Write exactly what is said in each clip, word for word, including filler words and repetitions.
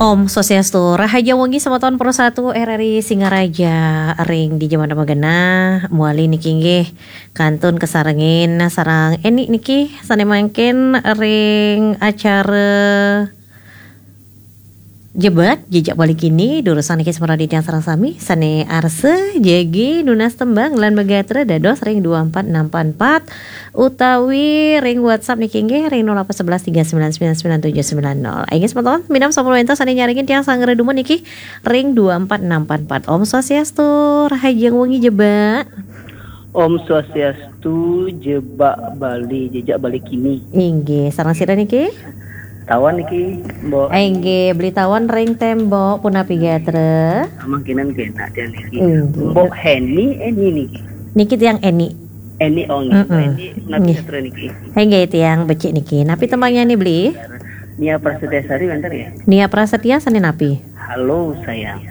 Om Swastiastu, rahajeng wengi semeton Pro satu R R I Singaraja ring di jaman magena, muali niki inggih kantun kasarengin sareng Eni niki sane mangkin ring acara Jebak, Jejak Bali Kini, durusang niki semeton titiang sareng sami, sane arsa jagi nunas tembang lan magatra dados ring dua empat enam empat empat, utawi ring WhatsApp niki inggih ring nol delapan sebelas tiga sembilan sembilan sembilan tujuh sembilan nol. Inggih semeton, minab sampun wenten sane nyarengin tiang sanggra dumun niki ring dua empat enam empat empat. Om Swastiastu, rahajeng wengi Jebak. Om Swastiastu, Jebak Bali, Jejak Bali Kini. Inggih, sareng sira niki? Tawan niki, Mbok. Inggih, Beli Tawan ring tembok, punapi gatra? Amang kinan kenak tiang niki. Inggih. Mbok Heni, Eni niki. Niki tiang Eni. Eni, oh, nggih. Mm-mm. Eni, napi nggih. Sastra niki? Inggih, tiang becik niki. Napi tembangnyané, Beli? Nia Prasetya Sari wénten nggih? Nia Prasetya sané napi? Halo, sayang.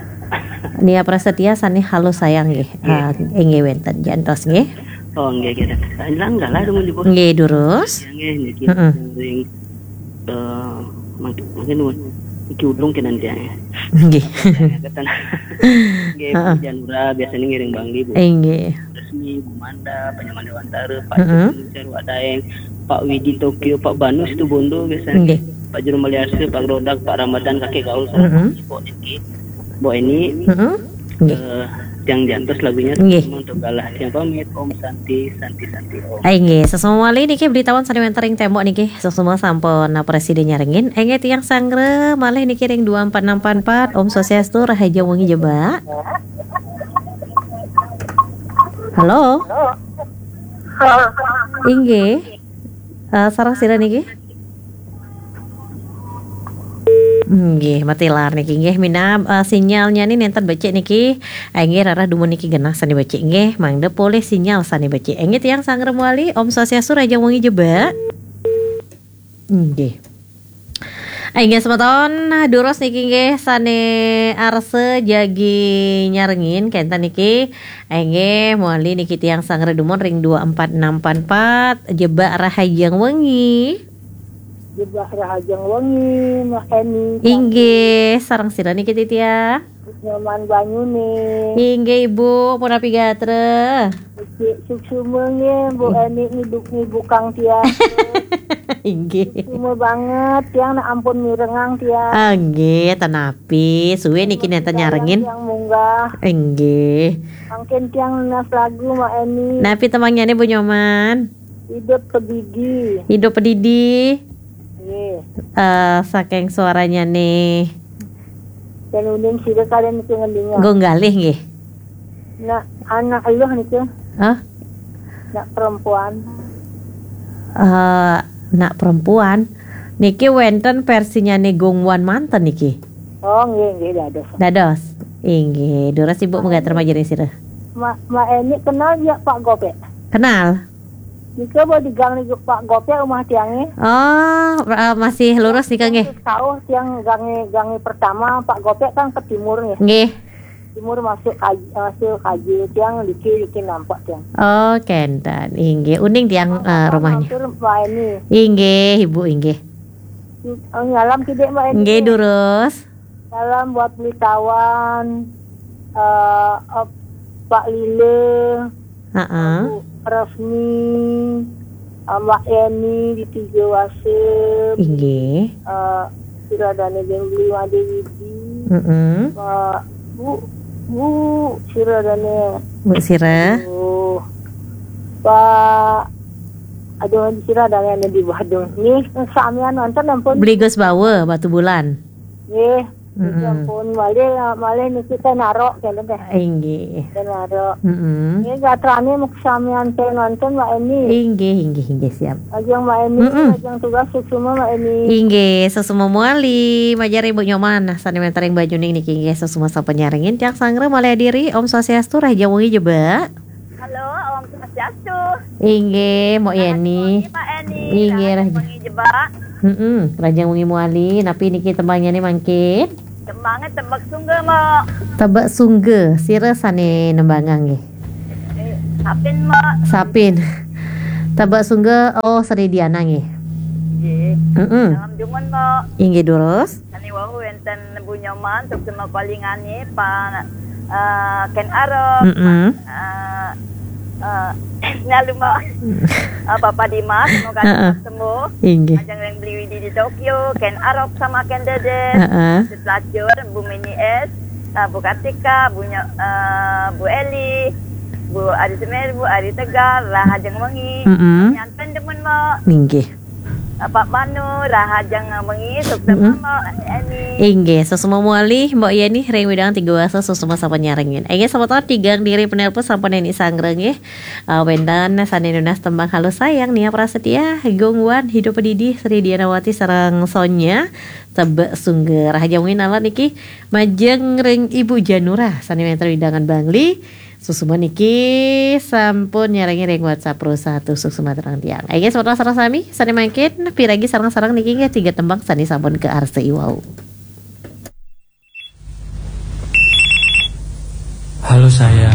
Nia Prasetya sané halo, sayang, nggih. Nggih. Ah, inggih wénten. Jantos, nggih. Oh, nggih, nggih. Langgalah dumun dipun. Nggih, durus. Nggih, niki Mm-mm. Ring, eh, mangke, mangke nuwun. Iki ulung kenan tiang. Nggih. Nggih, heeh. Bu Janura biasanya ngiring banggi, Bu. Inggih. Resmi, Bu Manda, Panyaman Dewantara, Pak Mm-mm. Joni, Sarwa Daeng, Pak Widi Tokyo, Pak Banu Situbondo biasanya. Nggih. Pak Juru Maliarsa, Pak Rodak, Pak Ramadan, Kakek Gaul, sareng Mm-mm. Pak Ibu niki. Bu Eni, Mm-mm. Nggih. Eh, tiang jantos lagunya Nggih. Untuk galah. Tiang pamit, Om Santi, Santi, Santi, Om. Ai, nggih, sesama malih niki Beli Tawan sané wénten ring tembok niki, sesama sampun presida nyarengin. Inggih tiang sanggra malih niki ring dua empat enam empat empat. Om Swastiastu, rahajeng wengi Jebak. Halo? Halo. Inggih. Eh, sareng sira niki? Nggih, matilar niki nggih minab, eh, sinyalnya ni nénten becik niki. Eh, nggih, rarah dumun niki genah sané becik nggih, mangda polih sinyal sané becik. Eh, nggih, tiang sanggra malih, Om Swastiastu, rahajeng wengi Jebak. Nggih. Eh, nggih, semeton, durus niki nggih sané arsa jagi nyarengin kénten niki. Eh, nggih, malih niki tiang sanggra dumun ring dua empat enam empat empat, Jebak rahajeng wengi. Jebak rahajeng wengi, Mbok Eni. Inggih, sareng sira niki titiang? Nyoman banyuné. Inggih, Ibu, punapi gatra? Becik suksma nggih, Mbok Eni ngiduk ngibukang tiang. Inggih. Suksma banget, tiang nak ampun mirengang tiang. Ah, nggih, ten napi. Suwé niki nénten nyarengin. Tiang munggah. Inggih. Mangkin tiang nunas lagu, Mbok Eni. Napi tembangnyané, Bu Nyoman? Hidup Pedidi. Hidup Pedidi. Nggih. Eh, saking suaranya nih. Dan uning sida kalian niku ngendinga. Gung Galih nggih. Nak anak eluh niku. Hah? Nak perempuan. Eh, nak perempuan. Niki wénten versinya nih Gung Wan manten niki. Oh, nggih, nggih, dados. Dados. Inggih, durus Ibu, mugi terima jering sira. Ma, Ma Eni kenal ya Pak Gopek? Kenal. Nika ba di gang ni Pak Gopek rumah tiangé. Oh, eh, masih lurus nika nggih. Kauh tiang gangé, gangé pertama, Pak Gopek kan ke timur nggih. Nggih. Timur masuk kaj-, masuk kaji tiang diki, diki nampak tiang. Oh, kénten. Inggih, uning tiang, eh, rumahnya. Mampir Mbok Eni. Inggih, Ibu, inggih. Oh, nyalam kidik Mbok Eni. Nggih, durus. Salam buat Beli Tawan, eh, eh, Pak Lila, Heeh. Bu Resmi, eh, Mbak Eni di Tiga Wasem, Inggih. Eh, sira dané Beli Wadi Widi, Mm-mm. Pak, Bu, Bu, sira dané. Bu sira. Aduh. Pak, aduh, sira dané di Badung. Nggih, samian wonten ampun. Beli Gus Bawa, Batubulan. Nggih. Mm-mm. Ampun, malih, malih niki ten narok, kénten téh. Inggih. Ten narok. Mm-mm. Nggih, gatrané muk samian ten wonten, Mbok Eni. Inggih, inggih, inggih, siap. Ajeng Mbok Eni, Mm-mm. Ajeng tugas suksma, Mbok Eni. Inggih, suksma malih, majeng Ibu Nyoman. Nah, sané wénten ring Banyuning niki inggih suksma sampun nyarengin tiang sanggra malih adiri. Om Swastiastu, rahajeng wengi Jebak. Halo, Om Swastiastu. Inggih, Mbok Yeni. Rahajeng wengi, Mbok Eni. Inggih, rahajeng wengi Jebak. Mm-mm, rahajeng wengi malih. Napi niki tembangnyané mangkin? Tembangé Tebek Sungga, Mbok. Tebek Sungga, sira sané nembangang nggih? Eh, Sapin, Mbok. Sapin. Tebek Sungga, oh, Sri Diana nggih. Nggih. Mm-mm. Salam dumun, Mbok. Inggih, durus. Sané wau wénten Dan Bu Nyoman, suksma kalingane, Pak, eh, Ken Arok, Mm-mm. Pak, eh, eh, lalu mau, eh, Bapak Dimas, semoga Heeh. cepat sembuh. Inggih. Ajeng ring Beli Widi di Tokyo, Ken Arok sama Ken Dedes, Heeh. Pelacur, Bu Mini S, eh, Bu Kartika, Bu Nyo-, eh, Bu Eli, Bu Ari Semeru, Bu Ari Tegar, rahajeng wengi. Mm-mm. Nyanten demen, Mbok. Inggih. Pak Manu, rahajeng wengi, sukses Mm-mm. Mbok, Eni. Inggih, suksma malih, Mbok Yeni, ring wewidangan Tiga Wasa, suksma sampun nyarengin. Inggih, semeton tigang diri penelpon sampun Eni sanggra nggih. Eh, wenten sane nunas tembang Halo Sayang, Nia Prasetya, Gong Wan, Hidup Didi, Sri Dianawati, sareng Sonya, Tebek Sungger. Rahajeng wengi niki, majeng ring Ibu Janura, sane wenten wewidangan Bangli, suksma niki sampun nyarengin ring WhatsApp Pro satu, suksma terang tiang. Inggih, semeton sareng sami, sane mangkin, piragi sareng-sareng niki nggih tiga tembang sane sampun kaarsa iwau. Halo sayang,